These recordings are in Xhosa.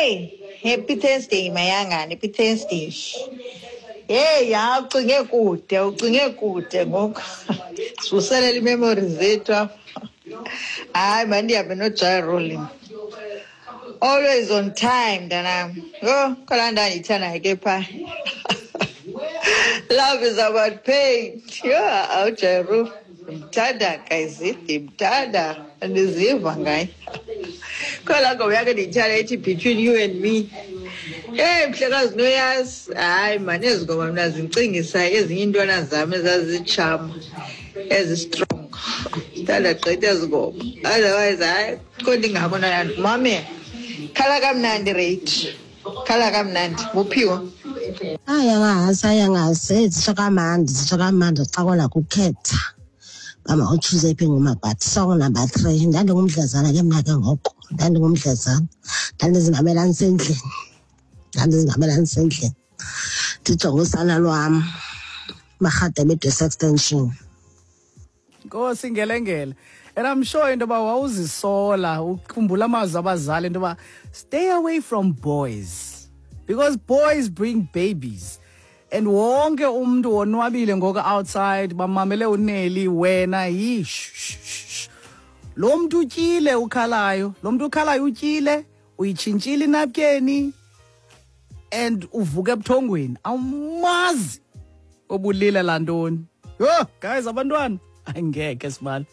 Hey, happy Thursday mayangani, happy Thursday. Hey, ya ucinge kude, ucinge kude ngoku. Sivuselela ii-memories zethu apha. Hayi, mandihambe noJa Rule. Always on time, mntanam. Yho, kholaa ndawo ndiyithandayo ke phaa. Love is about pain. Yho, awuJa Rule. Ndimthanda guys, ndimthanda. Andiziva ngaye. Kholaa ngoma yakhe ndiyithanda ethi Between You and Me. Hey, mhlekazi noyazi. Hayi mani, ezi ngoma mna zindicingisa ezinye iintwana zam ezazitshama ezi-strong. Ndithanda gqitha ezi ngoma. Otherwise, hayi, kho ndingako ntwana ndimamele. Khala kamnandi rate. Khala kamnandi. Buphiwa. Hayi angazi, hayi angazi. Zitsho kamandi, zitsho kamandi xa kona kukhetha uba mawutshuze iphi ingoma, but song number 3. Ndandingumdlezana ke mna ke ngoko, ndandingumdlezana, ndandizimamela ndisendlini, ndandizimamela ndisendlini, ndijonge usana lwam, Marhadebe Extension. Nkosi ngelengele. And I'm sure into yoba wawuzisola, ukhumbula amazwi abazali into yoba stay away from boys because boys bring babies. And wonke umntu wonwabile ngoku outside, bamamele uNelly, wena yi shh, shh, shh. Lo mntu utyile ukhalayo, lo mntu ukhalayo utyile, uyitshintshile inapkeni and uvuka ebuthongweni, awumazi obulila lantoni. Yho guys, abantwana angeke sibali.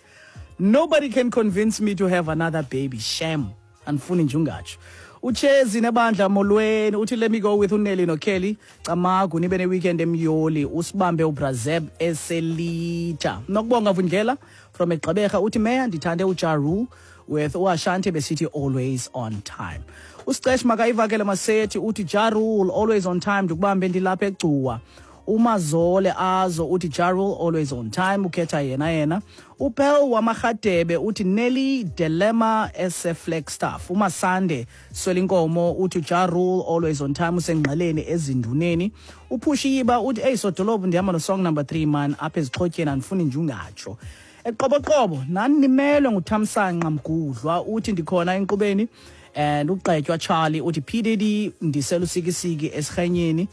Nobody can convince me to have another baby, shame, andifuni nje ungatsho. Uchezi nebandla, molweni. Uthi let me go with uNelly noKelly. Camagu, nibe ne-weekend emyoli. Usibambe uBrazeb eselita. Nokubonga Vundlela from eGqeberha uthi meya, ndithande uJa Rule with uAshanti besithi Always on Time. Usicesh makayivakele masethi uthi Ja Rule, Always on Time. Ndikubambe ndilapha eGcuwa. Umazole azo uthi Ja Rule, Always on Time, ukhetha yena yena. Upel wamarhadebe uthi Nelly, Dilemma eseFlagstaff. Umasande Swelinkomo uthi Ja Rule, Always on Time, usengqeleni ezinduneni. Uphushiyiba uthi eyi sodolophu, ndihamba no-song number 3 man, apha ezixhotyeni, andifuni nje ungatsho. Eqoboqobo nani nimelwe nguThamsanqa Mgudlwa uthi ndikhona enkqubeni. And ugqetywa Charlie uthi PDD, ndiselusikisiki esirhenyeni.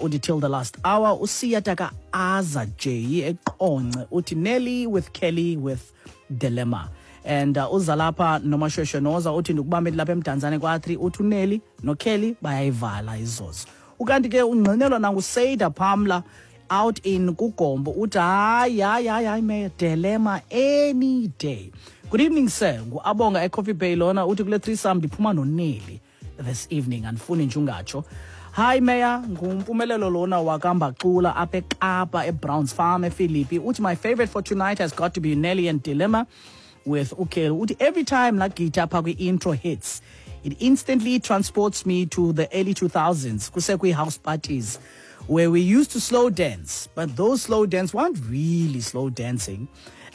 Uthi till the last hour. Usiya taka Aza J eQonce uthi Nelly with Kelly with Dilemma. And uzalapha noMashweshwe Noza uthi ndikubambe lapha eMdantsane kwa-3, uthi uNelly noKelly bayayivala izozo. Ukanti ke ungqinelwa nanguSeida Pamla out in Kugombo uthi hayi hayi hayi hayi me, Dilemma any day. Good evening sir, nguAbonga eCoffee Bay lona, uthi kule threesome ndiphuma noNelly this evening, andifuni nje ungatsho. Hi Mayor, ngumpumelelo lona wakambacula apha eKapa eBrowns Farm ePhilippi, uthi my favorite for tonight has got to be Nelly and Dilemma with uKelly. Uthi every time la guitar pha kwi-intro hits, it instantly transports me to the early 2000s, kusekwi-house parties where we used to slow dance, but those slow dance weren't really slow dancing,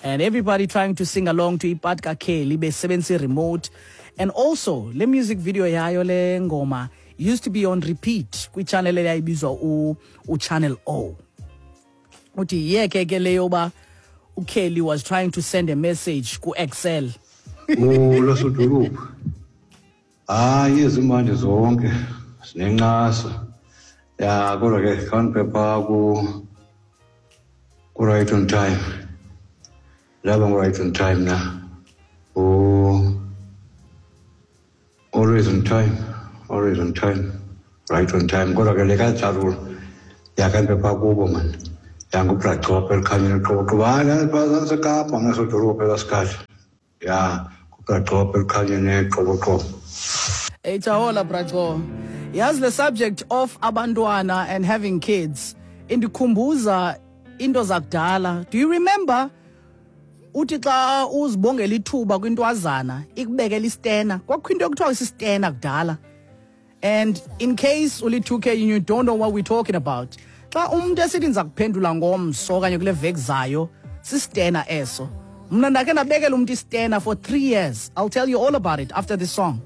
and everybody trying to sing along to ipart kaKelly besebenzisa remote. And also le music video yayo le ngoma used to be on repeat kwi-channel eyayibizwa uChannel O. Uthi yeke ke leyo ba uKelly was trying to send a message ku-Excel. Molo sodolophu. Hayi, ezimandi zonke zinencasa. Ya, kodwa ke khawundiphe ku Right on Time. Laba ngu Right on Time na. Oh, Always on Time, Always on Time, Right on Time. Kodwa ke le kaJa Rule yakhandiphe kubo man. Yangubrachopha elikhanyeni qoqo. Hayi, ndaseKapa mna sodolophu elasikhathi. Ya, ngubrachopha elikhanyeni qoqo. Hey Chahola Bracho. Yazi, the subject of abantwana and having kids indikhumbuza into zakudala. Do you remember uthi xa uzibongela ithuba kwintwazana ikubekela istena? Kwakho into ekuthiwa isistena kudala. And in case uli-2K and you don't know what we're talking about, xa umuntu esithi ndiza kuphendula ngomso okanye kule veki zayo, sistena eso. Mna ndakhe ndabekela umntu istena for 3 years. I'll tell you all about it after this song.